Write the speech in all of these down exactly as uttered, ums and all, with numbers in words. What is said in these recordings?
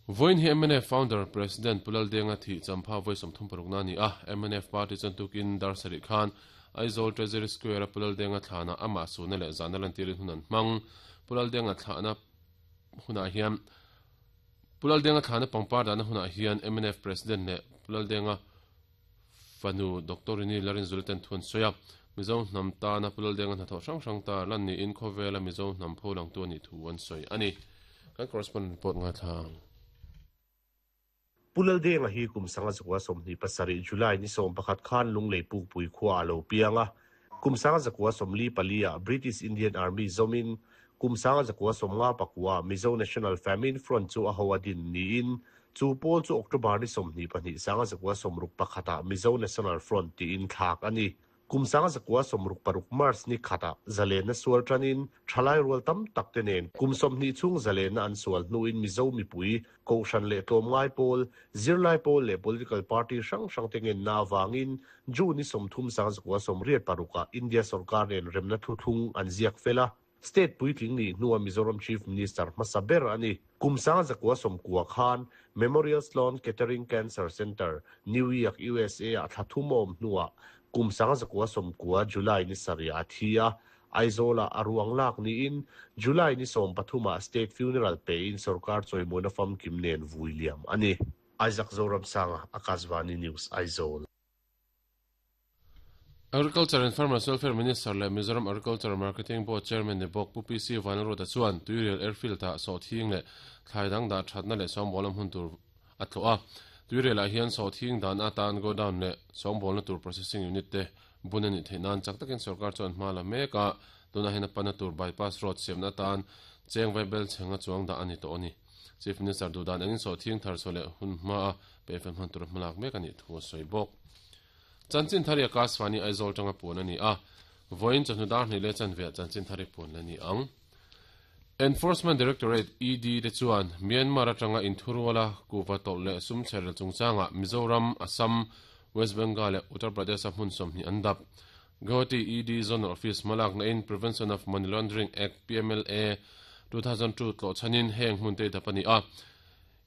Voin hi M N F founder President Pu Laldenga thi champha voi somthum parukna ni a M N F party chuan tukin dar sarih khan Aizawl Treasury Square a Pu Laldenga thlana ama suna leh zana lan tirin hunan hmang Pu Laldenga thlana hunah hian Pu Laldenga thlana pangpar dana hunah hian M N F President leh Pu Laldenga fanu Doctor Rini Larin Zulten thun soya Mizo hnam ta na Pu Laldenga hnathawh hrang hrang ta lan ni in khawvela Mizo hnam pho lang tu ani thu an sawi ani kan correspondent report nga thlang Pu Laldenga hi kum sanga zakwa somni pasarih July ni som pakhat khan lunglei puk pui khua alo pianga kum sanga zakwa somli palia British Indian Army zomin kum sanga zakwa somnga pakwa Mizo National Famine Front chu a hoadin ni in chu pol chu October ni somni pahnih sanga zakwa somruk pakhata Mizo National Front ti in thak ani kum sanga zakwa somruk paruk March ni khata zalena sual tranin thalai rual tam tak te nen kum somni chung zalena an sual nuin Mizo mi pui ko shan le tlom ngai pol zirlai pol le political party sang sang te ngen na wangin June ni somthum sang zakwa somriat paruka India sarkar nen remna thu thung an ziak fela state puitling ni nuwa Mizoram Chief Minister Masaber ani kum sang zakwa somkua khan Memorial Sloan Kettering Cancer Center New York U S A a thathumom nuwa kum sanga zakwa somkua July ni sari athia Aizola aruang lak ni in July ni som pathuma state funeral pe in sarkar choimona fam kimnen William ani Isaac Zoram Sanga Akashvani News Aizawl. Agriculture and Farmers Welfare Minister le Mizoram Agriculture Marketing Board Chairman ne bok Pu P C Vanrota chuan Tuirial Airfield ta so thing le thlaidang da thatna le som bolam hun tur atloa Tuirial a hian so thing dan atan go down le som bolna tur processing unit te bunani theinan chak takin sarkar chuan hma la meka tuna hena pana tur bypass road semna tan cheng vaibel chenga chuang da ani to ani Chief Minister dudan angin so thing thar sole hun hma pe fem han tur hmalak mek ani thu soi bok Chanchin thari Akashvani Aizawl tanga pun ani a voin chanu dar ni le chanve chanchin thari pun ani ang Enforcement Directorate E D te chuan Myanmar atanga inthurwala kuwa tol le sum cherel chungchanga Mizoram Assam West Bengal le Uttar Pradesh a hmun sawmhnih an dap Guwahati E D Zonal Office malak na in Prevention of Money Laundering Act P M L A two thousand two tlo chanin heng hmun te dapani a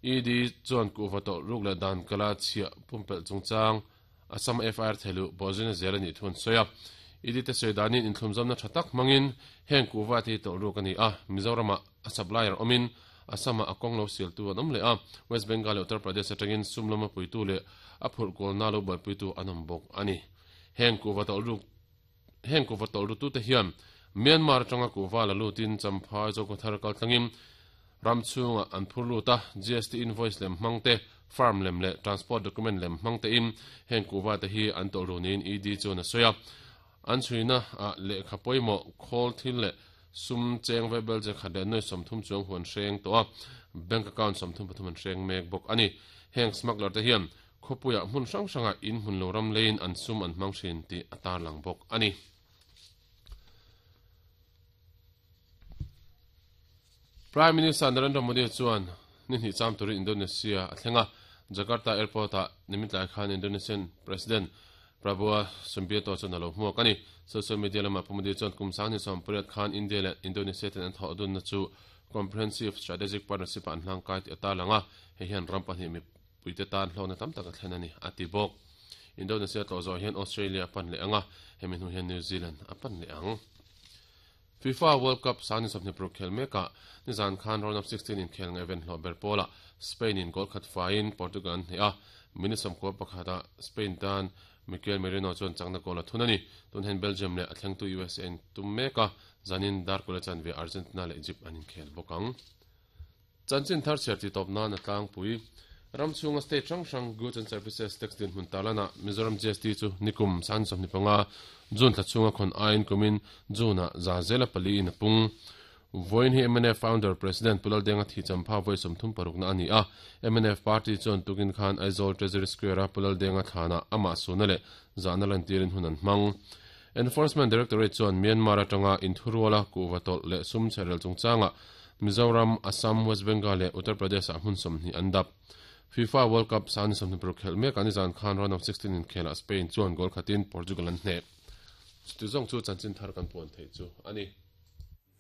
E D chuan kuwa tol ruk le dan kala chhia pumpel chungchang Assam F I R thelu bozina zelani thun soya E D te soidanin inthlumzamna thatak mangin heng kuwa ti tol ruk ani a Mizorama a supplier omin Assama a kong lo sil tu an awm le a West Bengal Uttar Pradesh atangin sumlama puitu le a phurh kawl na lo buai puitu an awm bawk ani heng kuwa tol ruk heng kuwa tol ru tu te hian Myanmar atanga kuwa la lutin champhai zokothar kal tlangin ramchunga an phur luta G S T invoice lem hmangte farm lem le transport document lem hmangte in heng kuwa te hi an tol runin E D chuan a soya an chhuina a lehkha pawimawh khawl thil le sum cheng vaibel che khat le noi sawmthum chuang huan hreng tawh a bank account sawmthum pathum an hreng mek bawk ani heng smuggler te hian khawpuiah hmun hrang hranga in hmun lo ram leiin an sum an hmang hrin tih a tar lang bawk ani Prime Minister Narendra Modi chuan ni hnih cham turin Indonesia a thlenga Jakarta Airport a nimitlai khan Indonesian President Prabowo Subianto chuan alo hmuak ani social media lama Pu Modi chuan kum sang ni sawm pariat khan India leh Indonesia ten an thawh dun na chu comprehensive strategic partnership an hlang kai ti ata langa hei hian ram pahnih mi puite tan hlawna tam tak a thlen ani a ti bawk Indonesia tlo zawh hian Australia a pan leh anga hemi hnu hian New Zealand a pan leh ang FIFA World Cup sang ni sawmhnih paruk khel meka ni zan khan round of sixteen in khel ngai ven hlawh ber pawla Spain in goal khat faiin Portugal an hneh a minute sawmkua pakhata Spain tan Mikel Merino chuan changna goal a thun ani tun hen Belgium le a thlengtu U S A in tum meka zanin dar kula chan ve Argentina le Egypt an inkhel bawk ang chanchin thar chher ti tawp nan a tlangpui ramchhunga state hrang hrang goods and services tax din hmun talana Mizoram G S T chu nikum san sawmhnih panga June thla chhunga khawn aiin kumin June a za zela pali in a pung Voin hi M N F founder President Pu Laldenga thi champha voi sawmthum parukna ani a M N F party chuan tukin khan Aizawl Treasury Square a Pu Laldenga thlana ama suna le zana lan tirin hun an hmang Enforcement Directorate chuan Myanmar atanga inthuruala kuwa tol le sum cherel chungchanga Mizoram Assam West Bengal le Uttar Pradesh a hmun sawmhnih an dap FIFA World Cup san sawmhnih paruk khel mek ani zan khan round of sixteen in khela Spain chuan goal khatin Portugal an hneh chu zong chu chanchin thar kan puan thei chu ani.